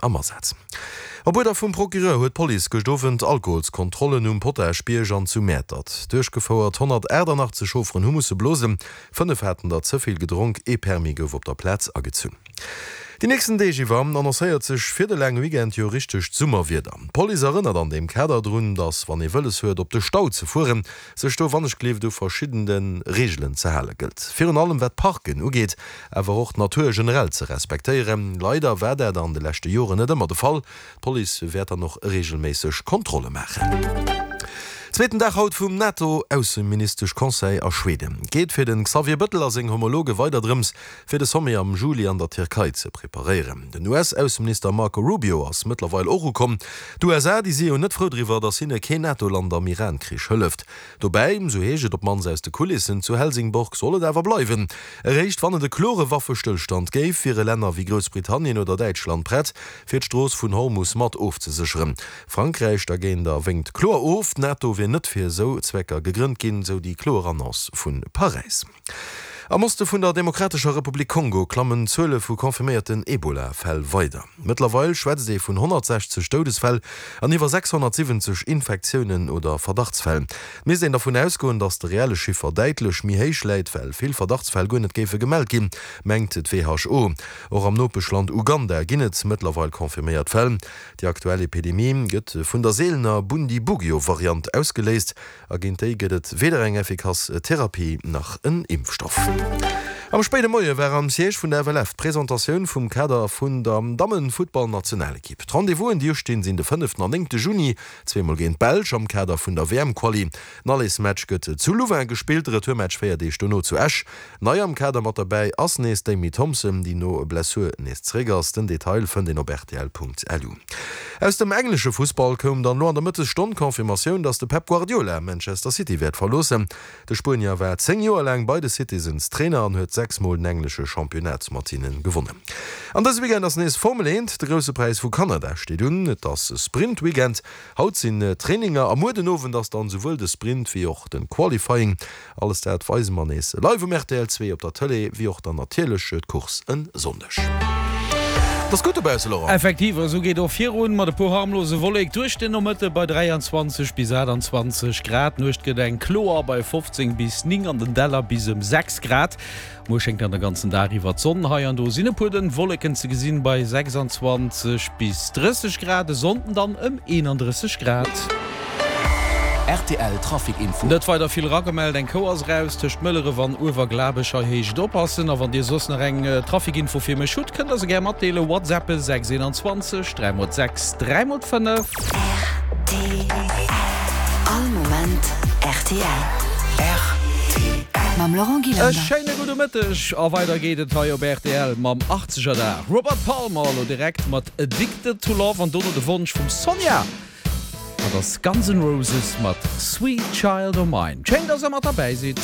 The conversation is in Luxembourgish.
am Asaz. Op Uerder vum Procureur huet d'Police gëscht Owend Alkoholskontrollen um Potaschbierg an zu Mäertert duerchgefouert. 188 Chaufferen hu musse blosen, 5 haten der ze vill gedronk, ee Permis gouf op der Plaz agezunn. Déi nächsten Deeg iwwer annoncéiert sech fir de laange Weekend jo richtegt Summerwieder. D'Police erënnert an deem Kader drun, dass wann ee wëlles huet op de Stau ze fueren, sech do wannechgleeft u verschiddene Reegelen ze hale gëllt. Virun allem wat d'Parken ugeet, awer och d'Natur generell ze respektéieren. Leider war dat an de leschte Joren net ëmmer de Fall. D'Police wäert dann och reegelméisseg Kontrolle maachen. Zweeten Dag haut vum NATO-Ausseministesch-Conseil a Schweden. Geet fir de Xavier Bëttel a seng Homologe weider drëms, fir de Sommet am Juli an der Tierkei ze preparéieren. Den US-Ausseminister Marco Rubio ass mëttlerweil och ukomm. D'USA, déi si jo net frou driwwer, datt hinne keen NATO-Land am Iran-Krich hëlleft. Dobäi, sou heescht et op d'mannst aus de Kulissen zu Helsingborg, soll et awer bleiwen. Eréischt wann et e klore Waffestëllstand géif, wiere Länner wéi Groussbritannien oder Däitschland prett, fir d'Strooss vun Hormus mat ofzesécheren. Frankräich dergéint wénkt kloer of, d'NATO wier net fir esou Zwecker gegrënnt ginn, sou déi kloer Annonce vu Paräis. Am Oste vun der Demokratescher Republik Kongo klammen d'Zuele vu confirméierten Ebola-Fäll weider. Mëttlerweil schwätzt ee vun 160 Doudesfäll an iwwer 670 Infektiounen oder Verdachtsfäll. Et misst een dervun ausgoen, datt de reelle Chiffer däitlech méi héich läit, well vill Verdachtsfäll guer net géife gemellt ginn, mengt d'WHO. Och am Nopeschland Uganda ginn et mëttlerweil confirméiert Fäll. Déi aktuell Epidemie gëtt vun der seelener Bundibugyo-Variant ausgeléist. A géint déi gëtt et weder eng effikass Therapie nach en Impfstoff. Am spéide Moie war am Siège vun der FLF d'Presentatioun vum Kader vun der Dammen-Futtball-Nationalekipp. D'Rendez-vousen déi ustinn sinn de fënneften an néngte Juni, zweemol géint d'Belsch am Kader vun der WM-Quali. Den Allersmatch gëtt zu Louvain gespillt, de Retourmatch 4 Deeg dono zu Esch. Nei am Kader mat derbäi ass nees d'Amy Thompson, déi no Blessur nees zeréck ass. Den Detail fënnt een op rtl.lu. Aus dem englesche Fussball koum dann elo an der Mëttesstonn d'Confirmatioun, dass de Pep Guardiola Manchester City wäert verloossen. De Spuenier war 10 Joer laang bei de Citizens Trainer an huet 6 Mol den englesche Championnat mat hinne gewonnen. An dëse Weekend ass nees Formel 1, de Grousse Präis vu Kanada steet un. Et ass Sprint-Weekend, haut sinn Traininger a muer den Owend ass dann souwuel de Sprint wéi och de Qualifying. Alles dat weise mer nees live um rtl 2 op der Tëlee, wéi och dann natierlech d'Course en Sonndeg. Et ass gutt dobausse, Laurent. Effektiv, a sou geet och virun mat e puer harmlose Wollek duerch den Nomëtte bei 23 bis 28 Grad. D'Nuecht gëtt eng kloer bei 15 bis 9, an den Däller bis ëm 6 Grad. Muer schéngt dann de ganzen Dag iwwer d'Sonn. Hei an do sinn e puer dënn Wolleken ze gesinn bei 26 bis 30 Grad, e Sonnden dann ëm 31 Grad. Rtl Trafic Info. Net weider vill eragemellt, eng Kou ass eraus tëscht Mëlleref an Uewerglabech, hei heescht et oppassen. A wann dir soss nach eng Trafic Info fir mech hutt, kënnt der se gär matdeelen, Whatsappen 6 21 3 x 6 3 x 5. Rtl. All Moment rtl. Rtl. Mam Laurent E Gillander. schéine gudde Mëtteg a weider geet et hei op rtl mam 80er Dag. Robert Palmer elo direkt mat Addicted to Love an dono de Wonsch vum Sonja. Dat ass Guns N' Roses mat Sweet Child O' Mine. Schéin, dass der mat derbäi sidd.